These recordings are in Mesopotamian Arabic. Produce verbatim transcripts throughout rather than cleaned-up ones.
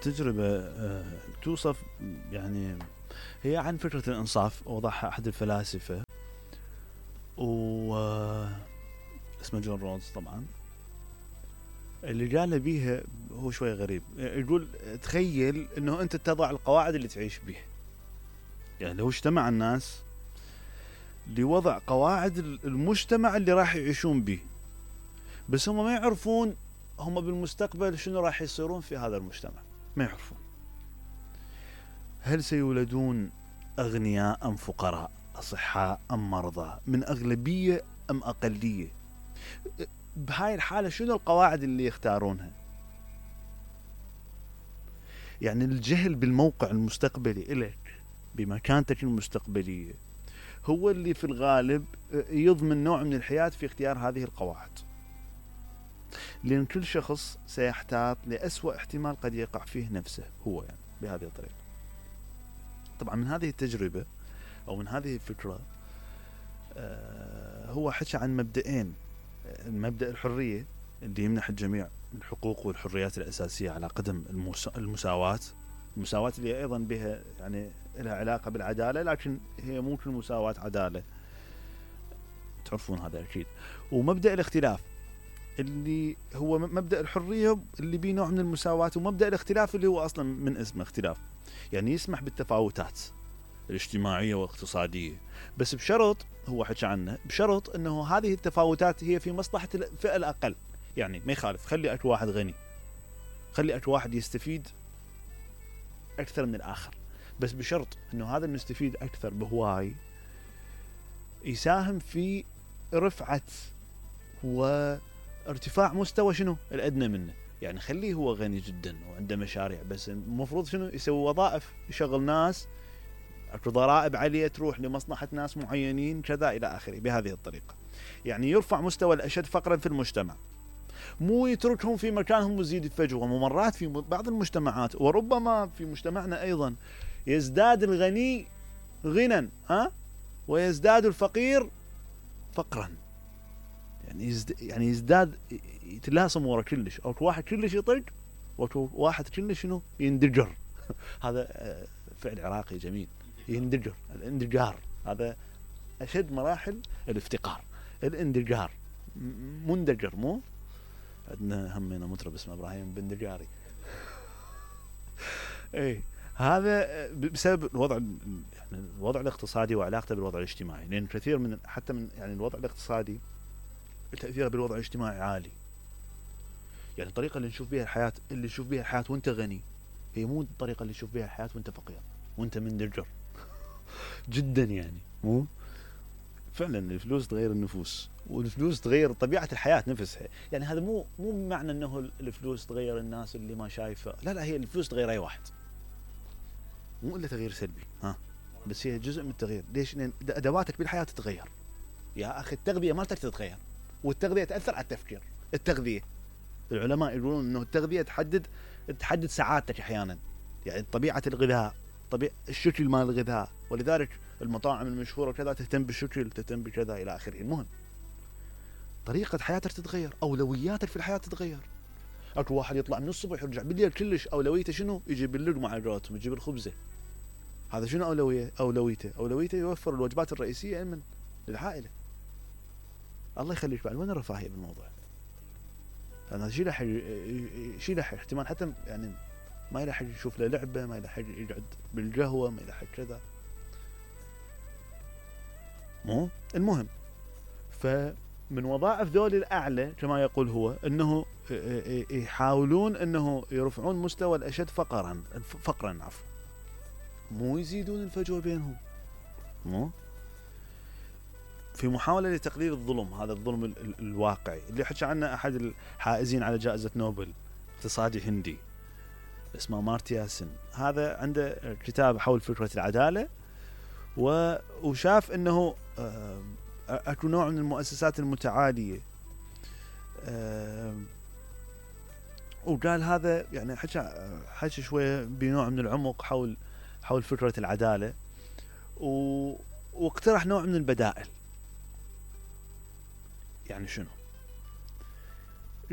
التجربة توصف يعني هي عن فكرة الإنصاف، وضعها أحد الفلاسفة و اسمه جون رولز طبعا. اللي قال بيها هو شوي غريب، يقول تخيل انه انت تضع القواعد اللي تعيش بيها. يعني لو اجتمع الناس لوضع قواعد المجتمع اللي راح يعيشون به، بس هم ما يعرفون هم بالمستقبل شنو راح يصيرون في هذا المجتمع، ما يعرفون هل سيولدون أغنياء أم فقراء، أصحاء أم مرضى، من أغلبية أم أقلية. بهاي الحالة شنو القواعد اللي يختارونها؟ يعني الجهل بالموقع المستقبلي إلك بمكانتك المستقبلية هو اللي في الغالب يضمن نوع من الحياة في اختيار هذه القواعد، لأن كل شخص سيحتاط لأسوأ احتمال قد يقع فيه نفسه هو، يعني بهذه الطريقة. طبعا من هذه التجربة أو من هذه الفكرة آه هو حكى عن مبدئين: المبدأ الحرية اللي يمنح الجميع الحقوق والحريات الأساسية على قدم المساواة، المساواة اللي أيضا بها يعني لها علاقة بالعدالة، لكن هي مو كل مساواة عدالة، تعرفون هذا أكيد. ومبدأ الاختلاف اللي هو مبدأ الحرية اللي بيه نوع من المساواة، ومبدأ الاختلاف اللي هو أصلا من اسمه اختلاف، يعني يسمح بالتفاوتات الاجتماعية والاقتصادية، بس بشرط هو حكى عنه، بشرط أنه هذه التفاوتات هي في مصلحة الفئة الأقل. يعني ما يخالف خلي أكو واحد غني، خلي أكو واحد يستفيد أكثر من الآخر، بس بشرط أنه هذا المستفيد أكثر بهواي يساهم في رفعة وارتفاع مستوى شنو الأدنى منه. يعني خليه هو غني جدا وعنده مشاريع، بس المفروض شنو يسوي وظائف، يشغل ناس، اكو ضرائب عالية تروح لمصلحة ناس معينين كذا إلى آخره، بهذه الطريقة. يعني يرفع مستوى الأشد فقرا في المجتمع، مو يتركهم في مكانهم ويزيد الفجوة. ومرات في بعض المجتمعات وربما في مجتمعنا أيضا يزداد الغني غنى ها ويزداد الفقير فقرا، يعني يزد يعني يزداد يتلاصم ورا كلش، او واحد كلش يطق وواحد كلش شنو يندجر. هذا فعل عراقي جميل، يندجر، الاندجار هذا أشد مراحل الافتقار، الاندجار، مندجر. مو عندنا همنا مطرب اسمه إبراهيم بندجاري. ايه هذا بسبب الوضع يعني الوضع الاقتصادي وعلاقته بالوضع الاجتماعي، لأن كثير من حتى من يعني الوضع الاقتصادي تأثيره بالوضع الاجتماعي عالي. يعني الطريقة اللي نشوف بها الحياة اللي نشوف بها الحياة وانت غني هي مو الطريقة اللي نشوف بها الحياة وانت فقير وانت مندجر جدا. يعني مو فعلا الفلوس تغير النفوس، والفلوس تغير طبيعة الحياة نفسها. يعني هذا مو مو معنى انه الفلوس تغير الناس اللي ما شايفه، لا لا، هي الفلوس تغير اي واحد، مو الا تغيير سلبي ها، بس هي جزء من التغيير. ليش؟ لان ادواتك بالحياة تتغير يا اخي، التغذية مالتك تتغير، والتغذية تأثر على التفكير. التغذية العلماء يقولون انه التغذية تحدد تحدد سعادتك احيانا، يعني طبيعة الغذاء، طبيعة الشكل مال الغذاء، ولذلك المطاعم المشهورة كذا تهتم بالشكل، تهتم بكذا إلى آخره. المهم طريقة حياتك تتغير، أولوياتك في الحياة تتغير. أكو واحد يطلع من الصبح يرجع بالليل كلش أولويته شنو؟ يجيب اللقمة على قولتهم، يجيب الخبزة. هذا شنو أولوية؟ أولويته أولويته يوفر الوجبات الرئيسية من للعائلة. الله يخليك بعد، وين الرفاهية بالموضوع؟ هذا شيء راح شيء راح احتمال حتى يعني ما يلحق يشوف له لعبة، ما يلحق يقعد بالقهوة، ما يلحق كذا. مو المهم، فمن وظائف ذول الأعلى كما يقول هو أنه يحاولون أنه يرفعون مستوى الأشد فقرا فقرا عفوا، مو يزيدون الفجوة بينهم. مو في محاولة لتقليل الظلم، هذا الظلم ال ال الواقعي اللي حكى عنه أحد الحائزين على جائزة نوبل، اقتصادي هندي اسمه مارتيا سن. هذا عنده كتاب حول فكرة العدالة، وشاف أنه أكو نوع من المؤسسات المتعالية، وقال هذا يعني حكى حكى شوية بنوع من العمق حول حول فكرة العدالة، واقترح نوع من البدائل. يعني شنو؟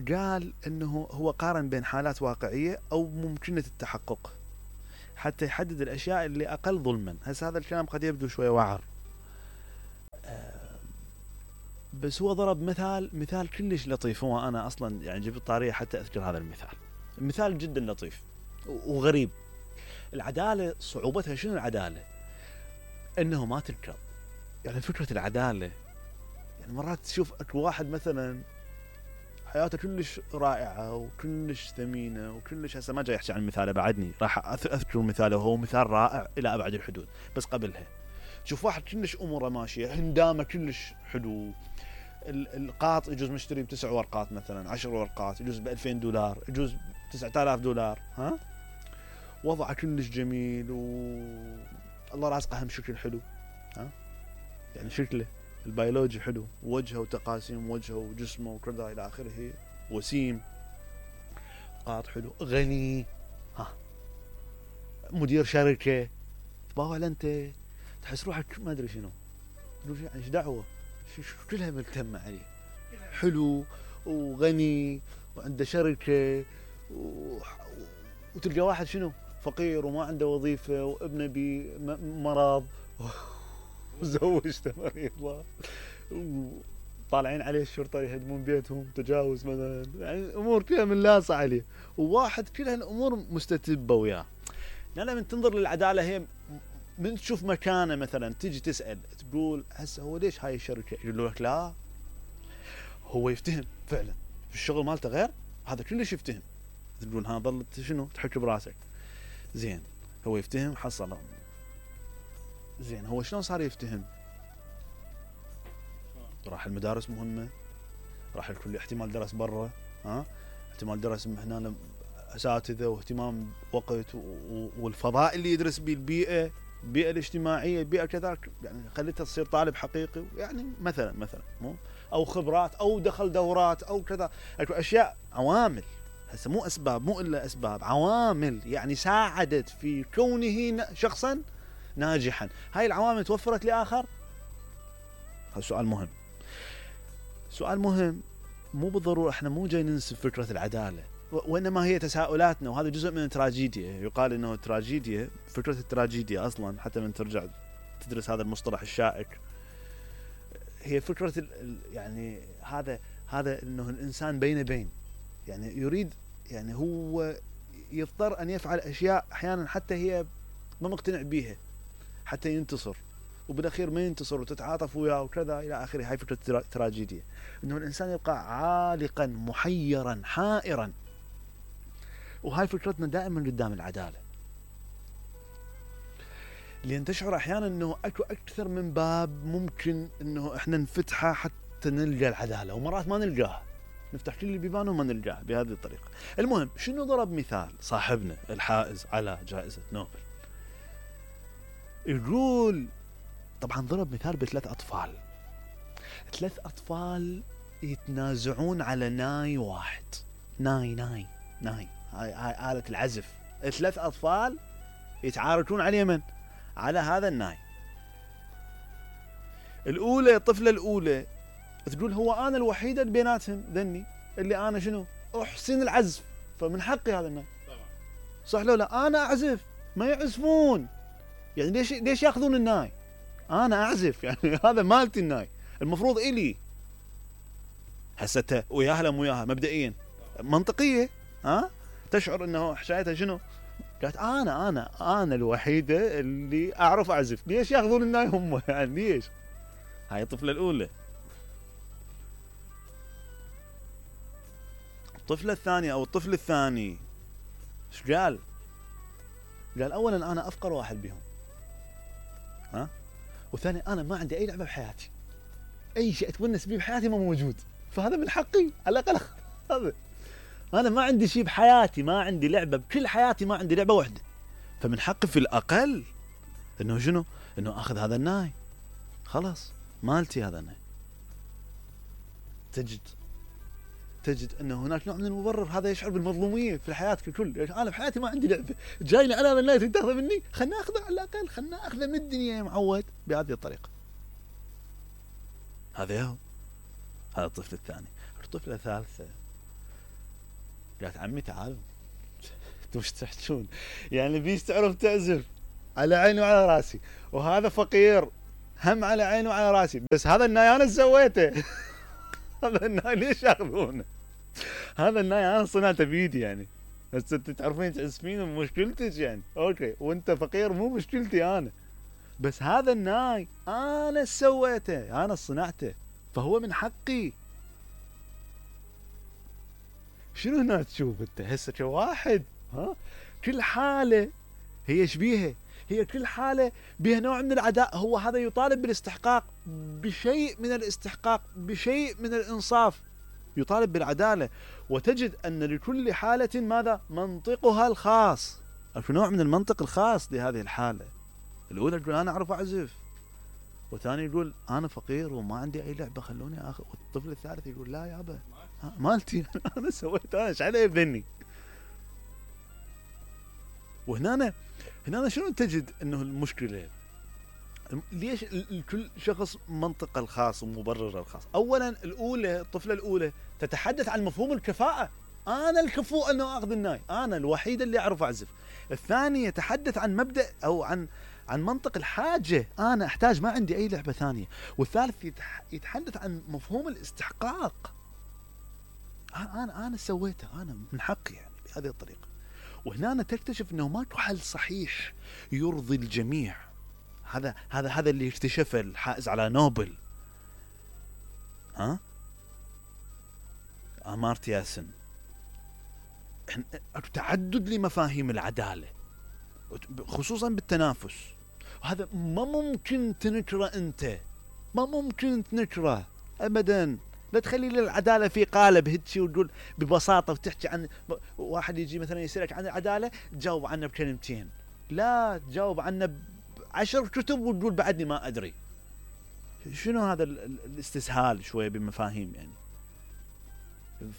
قال انه هو قارن بين حالات واقعية او ممكنة التحقق حتى يحدد الاشياء اللي اقل ظلما. هسه هذا الكلام قد يبدو شوية وعر، بس هو ضرب مثال مثال كلش لطيف. هو انا اصلا يعني جبت طارية حتى اذكر هذا المثال. المثال جدا لطيف وغريب. العدالة صعوبتها شنو؟ العدالة انه ما تنكر. يعني فكرة العدالة، يعني مرات تشوف اكو واحد مثلا حياته كلش رائعة وكلش ثمينة وكلش، هسه ما جاي احكي عن مثاله بعدني، راح اذكر مثاله وهو مثال رائع الى ابعد الحدود. بس قبلها تشوف واحد كلش اموره ماشية، هندامه كلش حلو، القاط يجوز مشتري بتسع ورقات مثلا، عشر ورقات، يجوز ب ألفين دولار، يجوز تسعة آلاف دولار، ها وضعه كلش جميل و الله رازقه هم شكل حلو، ها يعني شكله البيولوجي حلو، وجهه وتقاسيم وجهه وجسمه وكذا الى اخره، وسيم، قاط حلو، غني، ها مدير شركه، باوع انت تحس روحك ما ادري شنو، تقول ايش دعوه، كلها ملتمه عليه، حلو وغني وعنده شركه و... وتلقى واحد شنو فقير وما عنده وظيفه وابنه بمرض وزوجته مريضه وطالعين عليه الشرطه يهدمون بيتهم، تجاوز مثلا، يعني امور كلها منلاصه عليه، وواحد كل هالامور مستتبه وياه. لا من تنظر للعداله هي من تشوف مكانه مثلا تجي تسال تقول هسه هو ليش هاي الشركه؟ يقول لك لا هو يفتهم فعلا في الشغل مالته غير هذا كلش يفتهم. تقول ها ظلت شنو تحكي براسك؟ زين هو يفتهم حصل. زين هو شلون صار يفتهم؟ راح المدارس مهمه، راح الكل احتمال درس برا، ها احتمال درس هنا اساتذه واهتمام وقت والفضاء اللي يدرس به، البيئه البيئه الاجتماعيه، البيئه كذلك، يعني خليته تصير طالب حقيقي يعني مثلا مثلا مو او خبرات او دخل دورات او كذا، اكو اشياء عوامل هسه مو اسباب، مو الا اسباب، عوامل يعني ساعدت في كونه شخصا ناجحا. هاي العوامل توفرت لاخر؟ هذا سؤال مهم. سؤال مهم مو بالضروره، احنا مو جاي ننسب فكره العداله، وانما هي تساؤلاتنا، وهذا جزء من التراجيديا. يقال انه التراجيديا، فكره التراجيديا اصلا حتى من ترجع تدرس هذا المصطلح الشائك، هي فكره يعني هذا هذا انه الانسان بين بين، يعني يريد، يعني هو يضطر ان يفعل اشياء احيانا حتى هي ما مقتنع بيها حتى ينتصر، وبالاخير ما ينتصر وتتعاطف وياه وكذا الى اخره. هاي فكره التراجيديا، انه الانسان يبقى عالقا محيرا حائرا، وهاي فكرتنا دائما قدام العداله، لان تشعر احيانا انه اكو اكثر من باب ممكن انه احنا نفتحه حتى نلقى العداله، ومرات ما نلقاها، نفتح كل البيبان وما نلقاها بهذه الطريقه. المهم شنو ضرب مثال صاحبنا الحائز على جائزه نوبل، يقول طبعا ضرب مثال بثلاث اطفال، ثلاث اطفال يتنازعون على ناي واحد، ناي ناي ناي هاي هاي آلة العزف، ثلاث اطفال يتعاركون على اليمن على هذا الناي. الاولى الطفله الاولى تقول هو انا الوحيده اللي بيناتهم ذني اللي انا شنو احسن العزف، فمن حقي هذا الناي. طبعا صح لو لا انا اعزف ما يعزفون، يعني ليش ليش ياخذون الناي؟ انا اعزف يعني هذا مالتي الناي، المفروض الي. هسه وياها لا مو وياها مبدئيا منطقيه، ها تشعر انه حشايتها شنو؟ قالت انا انا انا الوحيده اللي اعرف اعزف، ليش ياخذون الناي هم يعني ليش؟ هاي الطفله الاولى. الطفله الثانيه او الطفل الثاني ايش قال؟ قال اولا انا افقر واحد بهم، ها، وثاني انا ما عندي اي لعبه بحياتي، اي شيء اتونس به بحياتي ما موجود، فهذا من حقي على الاقل هذا، انا ما عندي شيء بحياتي، ما عندي لعبه بكل حياتي، ما عندي لعبه واحده، فمن حقي في الاقل انه شنو؟ انه اخذ هذا الناي، خلاص مالتي هذا الناي. تجد تجد انه هناك نوع من المبرر، هذا يشعر بالمظلوميه في الحياه ككل، انا بحياتي ما عندي لعبه، جايني انا هذا الناي تاخذه مني، خلنا اخذه على الاقل، خلنا اخذه من الدنيا يا معود بهذه الطريقه. هذا هو هذا الطفل الثاني. الطفله الثالثه قالت عمي تعال انتم ايش تحجون؟ يعني بيش تعرف تعزف؟ على عيني وعلى راسي، وهذا فقير هم على عيني وعلى راسي، بس هذا الناي انا سويته. هذا الناي ليش ياخذونه؟ هذا الناي انا صنعته بيدي يعني، بس انت تعرفين تعزفين مشكلتك يعني، اوكي، وانت فقير مو مشكلتي انا، بس هذا الناي انا سويته، انا صنعته، فهو من حقي. شنو هنا تشوف انت هسه كواحد؟ ها كل حاله هي شبيهه، هي كل حاله بها نوع من العداء، هو هذا يطالب بالاستحقاق، بشيء من الاستحقاق، بشيء من الانصاف، يطالب بالعداله، وتجد ان لكل حاله ماذا؟ منطقها الخاص، في نوع من المنطق الخاص لهذه الحاله. الاولى تقول انا اعرف اعزف، والثاني يقول انا فقير وما عندي اي لعبه خلوني اخذ، والطفل الثالث يقول لا يابا مالتي انا سويت، انا ايش علي بذني؟ وهنا هنا شنو تجد انه المشكله؟ ليش لكل شخص منطقه الخاص ومبرره الخاص؟ اولا الاولى، الطفله الاولى تتحدث عن مفهوم الكفاءه، انا الكفؤ انه اخذ الناي، انا الوحيد اللي اعرف اعزف. الثاني يتحدث عن مبدا او عن عن منطق الحاجه، انا احتاج ما عندي اي لعبه ثانيه. والثالث يتحدث عن مفهوم الاستحقاق، انا انا سويته، انا من حقي يعني بهذه الطريقه. وهنا تكتشف انه ماكو حل صحيح يرضي الجميع. هذا هذا هذا اللي اكتشفه الحائز على نوبل، ها امارتيا سن. تعدد لمفاهيم العداله خصوصا بالتنافس، وهذا ما ممكن تنكره انت، ما ممكن تنكره ابدا. لا تخلي العداله في قالب هيك وتقول ببساطه وتحكي عن واحد يجي مثلا يسالك عن العداله تجاوب عنه بكلمتين، لا تجاوب عنه بعشر كتب وتقول بعدني ما ادري. شنو هذا الاستسهال شويه بمفاهيم يعني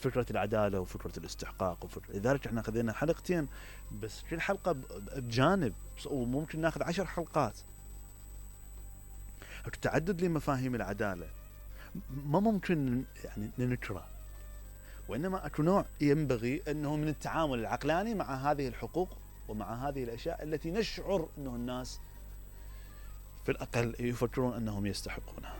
فكره العداله وفكره الاستحقاق وفكرة. لذلك احنا خذينا حلقتين بس، كل حلقه بجانب، وممكن ناخذ عشر حلقات. التعدد لمفاهيم العداله ما ممكن يعني ننكره، وإنما أكو نوع ينبغي أنه من التعامل العقلاني مع هذه الحقوق ومع هذه الأشياء التي نشعر أنه الناس في الأقل يفكرون أنهم يستحقونها.